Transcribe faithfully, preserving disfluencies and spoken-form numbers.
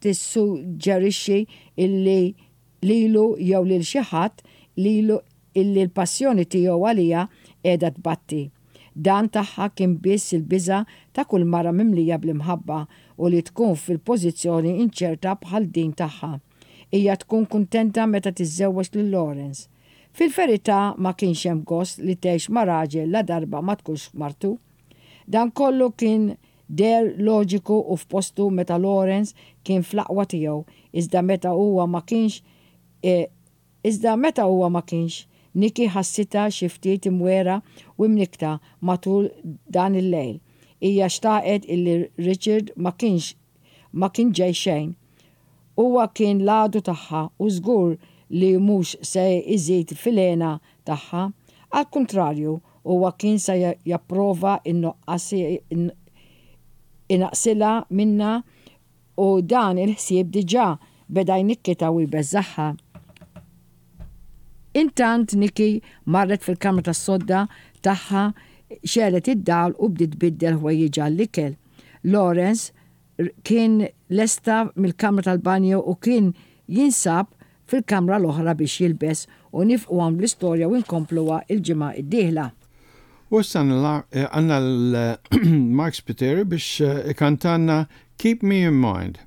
Tissuġġerixxi illi lilu jew lil xi ħadd lilu illi l-passjoni tiegħu għaliha qiegħda tbatti. Dan tagħha kien biss il-biża' ta' kull mara mimlija bl-imħabba u li tkun fil-pożizzjoni inċerta bħal din tagħha. Hija tkun kuntenta meta tiżżewweġ lil Lawrence. Fil-verità, ma kienx hemm gost li tgħix ma' raġel la darba ma tkunx martu. Dan kollu kien deher loġiku u f'postu meta Lawrence kien fl-aqwa tiegħu, iżda meta huwa ma kienx e, iżda meta huwa ma kienx, Nikki ħassitha xi ftit imwerwra u mnikkta matul dan il-lejl. Hija xtaqet illi Richard ma kienx ma kien ġej xejn. Huwa kien l-għadu tagħha u żgur li mhux se iżid fil-hena tagħha. Al kontrarju, huwa kien se japprova in-nuqqas inaqqsilha minnha u dan il-ħsieb diġà beda jnikkitha u jbeżżagħha. Intant, Nikki marret fil-kamra tas-sodda tagħha, xegħlet id-dawl u bdiet tbiddel ħwejjiġha l-ikel. Lawrence kien lesta mill-kamra tal-banju u kien jinsab fil-kamra l-oħra biex jilbes, u nieqfu hawn bl-istorja u nkompluha il-ġimgħa id-dieħla. U issa għandna l-Mark Spiteri biex ikantanna Keep Me in Mind.